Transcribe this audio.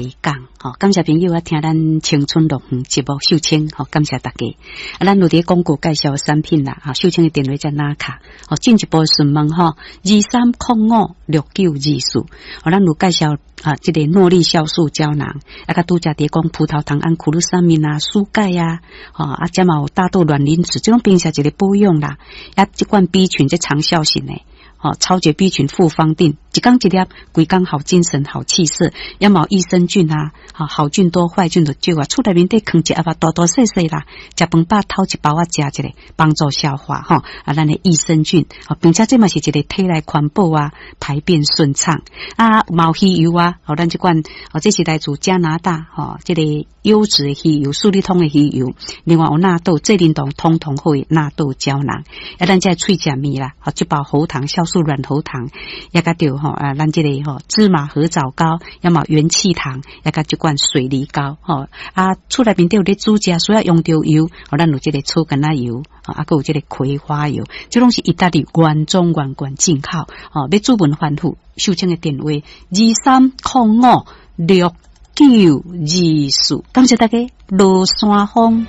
西港，吼，感謝朋友啊，聽咱青春樂園節目秀清，吼，感謝大家。啊，咱有佇廣告介紹產品啦，哈，秀清的電話遮拿卡，吼，進一步詢問吼，23056924，吼，咱有介紹啊，這個諾麗酵素膠囊，啊，佮拄才佇講葡萄糖胺、苦魯三明啊、蘇鈣啊，吼，啊，遮嘛有大豆卵磷脂，這種平時一個保養啦，啊，這款 B 群這長效型的。吼，超級 B 群複方錠，一工一粒，規工好精神、好氣色。抑嘛益生菌啊，吼，好菌多，壞菌就少啊。厝內面底囥一盒啊，大大細細啦，食飯飽頭一包仔食一下，幫助消化吼。啊，咱的益生菌，吼，並且這嘛是一個體內環保啊，排便順暢啊，嘛有魚油啊，吼，咱這款哦，這是來自加拿大吼，這個優質的魚油，舒利通的魚油。另外有納豆，濟霖堂通通好的納豆膠囊。啊，咱這個喙食物啦，吼，這包喉糖酵素軟喉糖，也佮著吼啊，咱這個吼芝麻褐藻膏，抑嘛元氣糖，也佮這款水梨膏，吼啊，厝內面底有咧煮食，需要用著油，吼，咱有這個草根仔油，啊，閣有這個葵花油，這攏是意大利原裝原罐進口，吼，欲諮詢繁複，秀清的電話23056924，感謝大家，羅山風。